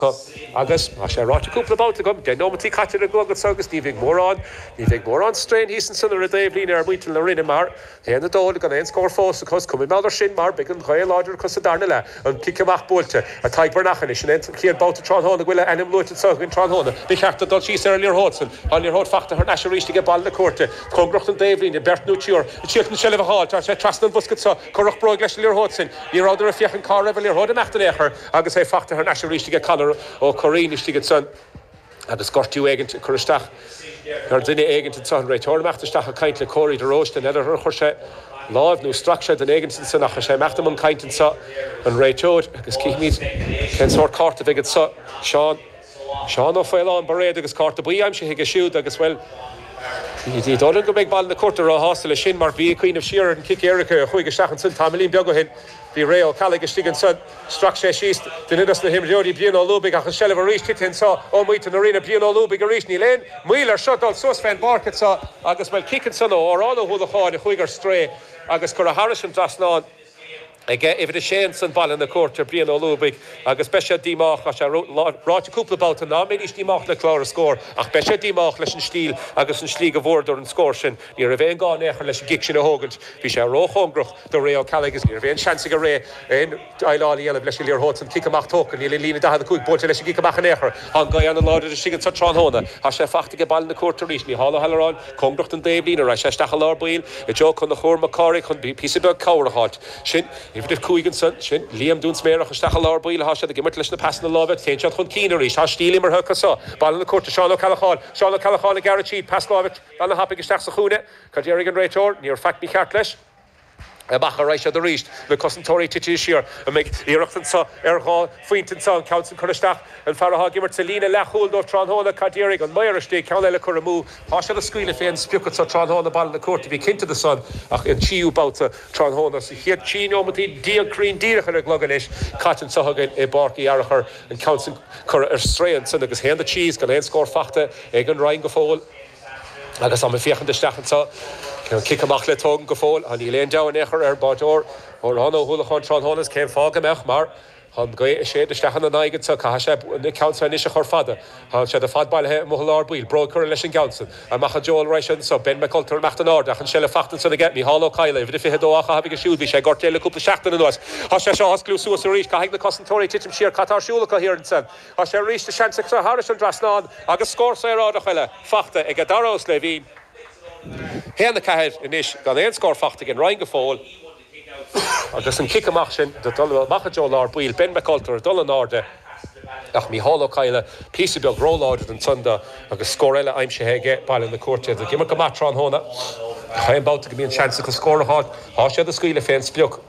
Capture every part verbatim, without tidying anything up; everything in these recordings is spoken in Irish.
Agus tá sé ráite cúpla babhta agam, deich nóimeataí caite ar an gclog anso agus ní bheidh mórán, ní bheidh mórán strain thíos ansan ar an dtaobhlíne ar mhuintir na Rinne mar haon a dó gan aon scór fós acu. Is cuma mar sin mar beidh an ghaoth láidir acu sa darna leath, an cic amach buailte ag Tadhg Breathnach anois, sin é an chéad babhta tráthnóna go bhfuil a ainm luaite anso againn tráthnóna. Ba cheart dó dul síos ar an liathróid san. Tá an liathróid fachta thar n-ais arís aige Baile na Cúirte, cóngarach don dtaobhlíne, beirt nó triúr ag triail an tseilbh a fháil. Tá sé trasna an bhosca anso, cuireadh bróig leis an liathróid sin. Ní rabhadar ag féachaint cá raibh an liathróid ag imeacht in aon chor agus é fachta thar n-ais arís aige Conor Ó Curraoin istigh ansan agus gortú éigint ag cur isteach ar dhuine éigint anso. An réiteoir ag imeacht isteach ag caint le Corey de Róiste. N'fheadar ar chuir sé láimh nó strac sé duine éigint ansan ach tá sé ag imeacht i mbun cainte anso an réiteoir agus cífimid cén sórt cárta a bheidh anso. Seán Seán Ó Faoláin Bairéad agus cárta buí aimsithe aige siúd agus, bhuel, ní dóigh liom go mbeidh Baile na Cúirte róshásta leis sin mar bí ag cuimhneamh siar ar an chic éirice a chuaigh isteach ansan tamaillín beag ó shin. Bhí Ray Ó Ceallaigh istigh ansan, strac sé síos duine dos na himreoirí, Brian Ó Lúbaigh, ach an seilbh arís tite anso ó mhuintir na Rinne, Brian Ó Lúbaigh arís, níl aon mhoill air seo dul suas fén bpáirc anso agus, bhuel, cic ansan ó Odhrán Ó hUallacháin a chuaigh ar strae agus curtha thairis an dtrasnán aige uimhir a sé ansan Baile na Cúirte, Brian Ó Lúbaigh, agus beidh sé díomách, tá sé ráite cúpla babhta ná mbeidís díomách le clár a scór, ach beidh sé díomách leis an stíl agus an slí go bhfuaireadar an scór sin. Ní raibh aon gá in aon chor leis an gcic sin a thógaint, bhí sé róchóngarach do Ray Ó Ceallaigh agus ní raibh aon seans ag Ray aon déileáil a dhéanamh leis an liathróid san. Cic amach tógtha, níl an líne daichead a cúig buailte leis an gcic amach in aon chor. Tá an ghaoth an-láidir istigh anso tráthnóna. Tá sé fachta aige Baile na Cúirte arís, Mícheál Ó hAlluráin, cóngarach don dtaobhlíne, raghaidh sé isteach i lár baill i dtreo Conchúr Mac Cárthaigh chun píosa beag cabhair a fháilt. Sin uimhir a cúig ansan, sin Liam Dún Sméarach isteach i lár baill atá siad ag imirt leis na pasanna láimhe, téann siad chun cinn arís, tá stíl imeartha acu so. Baile na Cúirte, Seán Ó Ceallacháin, Seán Ó Ceallacháin ag gearradh tríd, pas láimhe an-thapaidh isteach sa chúinne, cad déarfaidh an réiteoir? Níor faic mícheart leis. Amach a raghaidh siad arís, na cosantóirí tite siar. An mbeidh iarracht anso ar dhá phointe anso, an ceann san curtha isteach, an fear atá ag imirt sa líne leathchúil dóibh tráthnóna, cad déarfaidh an maor istigh, ceann eile curtha amú. Tá siad ag scaoileadh fén sprioc anso tráthnóna, Baile na Cúirte, bí cinnte de san, ach an tríú babhta tráthnóna sa chéad trí neomataí déag cruinn díreach ar an gclog anois, caite anso againn i bPáirc Uí Fhearachair, an ceann san curtha ar strae ansan agus haon a trí is gan aon scór fachta ag an Rinn go fóill. Agus táim ag féachaint isteach anso, an cic amach le tógaint go fóill, á níl aon deabhadh in aon chor ar an báireoir Odhrán Ó hUallacháin tráthnóna is cén fáth go mbeadh, mar tá an ghaoth ag séideadh isteach ina n-aghaidh anso, caithfidh sé an ceann seo anois a chur fada. Tá siad ar fad bailithe amuigh i lár baill, bróig curtha leis an gceann san. Amach i dtreo an raghaidh siad anso, Ben McCulter ag imeacht in airde ach an seilbh fachta ansan aige, Mícheál Ó Cadhla, uimhir a fiche a dó á chaitheamh aige siúd, bhí sé gortaithe le cúpla seachtain anuas. Tá sé seo á osclú suas arís, caithfidh na cosantóirí titim siar, cad tá ar siúl acu thiar ansan? Tá sé arís de sheans acu thairis an dtrasnán agus scór saoráideach eile fachta ag Dara Ó Sléibhín. haon a ceathair anois gan aon scór fachta ag an Rinn go fóill agus an cic amach sin do dul amach i dtreo lár baill, Ben McCulter ag dul in airde ach Mícheál Ó Cadhla píosa beag róláidir ansan dó agus scór eile aimsithe aige Baile na Cúirte. Ag imirt go maith tráthnóna. Chaon babhta go mbíonn seans acu scór a fháil, tá siad ag scaoileadh fén sprioc.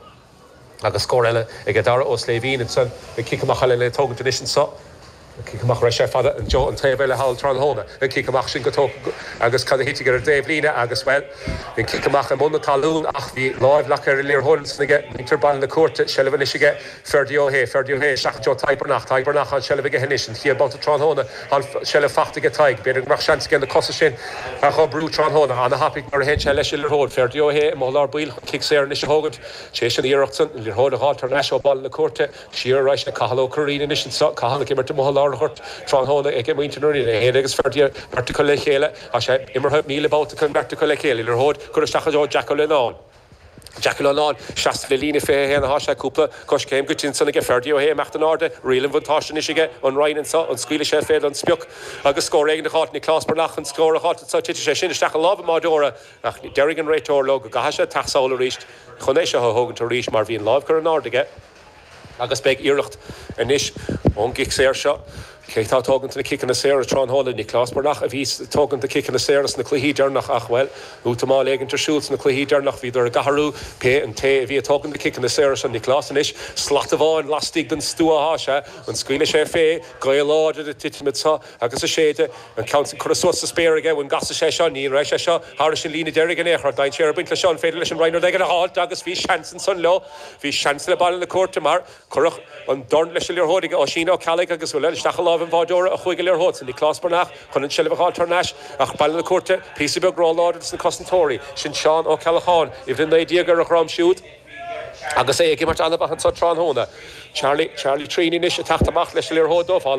Agus scór eile ag Dara Ó Sléibhín ansan, an cic amach eile le tógaint anois anso. An cic amach raibh sé fada an deo an taobh eile thall tráthnóna. An cic amach sin go tógtha agus cad a thitfidh ar an dtaobh líne agus, bhuel, an cic amach i mbun na talún ach bhí láimh leagtha ar an liathróid ansan aige muintir Baile na Cúirte. Seilbh anois aige Ferdia Ó hAodha. Ferdia Ó hAodha isteach i dtreo Tadhg Breathnach. Tadhg Breathnach an seilbh aige anois. An chéad babhta tráthnóna an seilbh fachta aige Tadhg. B'fhéidir go mbeadh seans aige na cosa sin a dh'oibriú tráthnóna. Ana-thapaidh nuair a théann sé leis an liathróid. Ferdia Ó hAodha amuigh i lár baill chun cic saor anois a thógaint. Tar éis an iarracht san, an liathróid a dh'fháilt thar n-ais ó Baile na Cúirte. Siar a raghaidh sé Cathal Ó Curraoin anois anso. Cathal ag imirt amuigh i lár an ghoirt tráthnóna ag muintir na Rinne. É féin agus Ferdia beirt acu le chéile. Tá sé imeartha míle babhta acu an bheirt acu le chéile. Liathróid curtha isteach i dtreo Jack Ó Lionáin. Jack Ó Lionáin seasta le líne fiche a haon atá sé cúpla coiscéim goite ansan aige Ferdia Ó hAodha ag imeacht in airde. Riail an bhuntáiste anois aige an Rinn anso. An scaoilfidh sé fé don sprioc agus scór éigin a dh'fháilt. Nioclás Breathnach chun scór a dh'fháilt anso. Titfidh sé sin isteach i lámha an bháireora ach déarfaidh an réiteoir leo go gcaithfidh sé teacht sall arís chun é seo a thógaint arís mar bhí an lámh curtha in airde aige agus beidh iarracht anois ón gcic saor seo. Cé atá ag tógaint na ciceanna saora tráthnóna? Nioclás Breathnach a bhí ag tógaint na ciceanna saora sna cluichí deireanach ach, bhuel, útamáil éigint ar siúl sna cluichí deireanach. Bhíodar ag athrú pé an té a bhí ag tógaint na ciceanna saora seo. Nioclás anois, slat amháin laistigh den stua atá sé. An scaoilfidh sé fé? Gaoth láidir ag titim anseo agus ag séideadh. An ceann sin curtha suas sa spéir aige. An gcasfaidh sé seo? Ní raibh sé seo thairis an líne deiridh in aon chor. Dainséar ag baint leis seo. An féidir leis an Rinn rud éigin a fháilt? Agus bhí seans ansan leo. Bhí seans le Baile na Cúirte mar cuireadh an dorn leis an liathróid ag Oisín Ó Ceallaigh agus bhuel, isteach i láimh an bháireora a chuaigh an liathróid san. Nioclás Breathnach chun an tseilbh a dh'fháilt thar n-ais ach Baile na Cúirte píosa beag róláidir dos na cosantóirí. Sin Seán Ó Ceallacháin, uimhir a naoi déag ar a dhroim siúd. Agus é ag imirt an-mhaith anseo tráthnóna. Charlie Charlie Trini ag teacht amach leis an liathróid dó fá